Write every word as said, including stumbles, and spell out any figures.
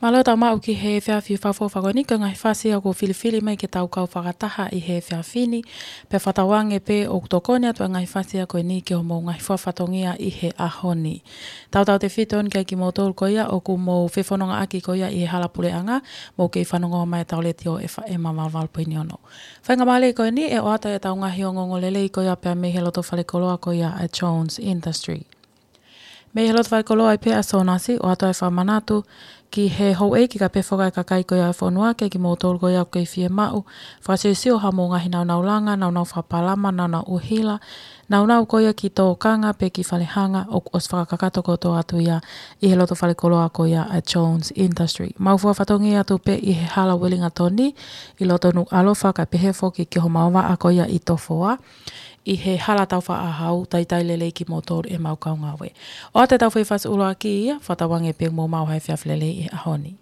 Mālō e tau maʻu ki he efiafi fakaʻofoʻofa ko eni, ko e ngaahi fasi ʻoku filifili mai ke tau kau fakataha ʻi he efiafi ni, pea fakatauange pē ʻoku tokoni atu e ngaahi fasi ko eni ki hoʻomou ngaahi fua fatongia ʻi he ʻaho ni. Tautautefito eni kiate kimoutolu ko ia ʻoku mou fefonongaʻaki ko ia ʻi he hala puleʻanga, mou kei fanongo mai ʻetau letiō F M valu valu poini ono. Faingamālie ko eni ʻe ʻoatu ʻetau ngaahi ongoongolelei ko ia pea mei he loto falekoloa ko ia ʻa Jones Industry. Mei he loto falekoloa ʻi pē ʻa Sonasi, ʻoatu e fakamanatu ki he houʻeiki kae pehē foki ki he kakai ko ia ʻo e fonua, kiate kimoutolu ko ia ʻoku kei fiemaʻu fakasiosio haʻamou ngaahi naunau langa, naunau fakapalama, naunau ʻuhila, naunau ko ia ki tōkanga pe ki falehanga, ʻoku ʻosi fakakakato kotoa atu ia ʻi he loto falekoloa ko ia ʻa Jones Industry. Mau fua fatongia atu pē ʻi he hala Uelingatoni, ʻi loto Nukuʻalofa kae pehē foki ki homau vaʻa ko ia ʻi Tofoa, ʻi he hala taufaʻāhau. Talitali lelei kimoutolu ʻemau kau ngāue. ʻOatu ʻetau foʻi fasi ʻuluaki ia, fakatauange pē ʻoku mou maʻu ha efiafi lelei ʻi he ʻaho ni.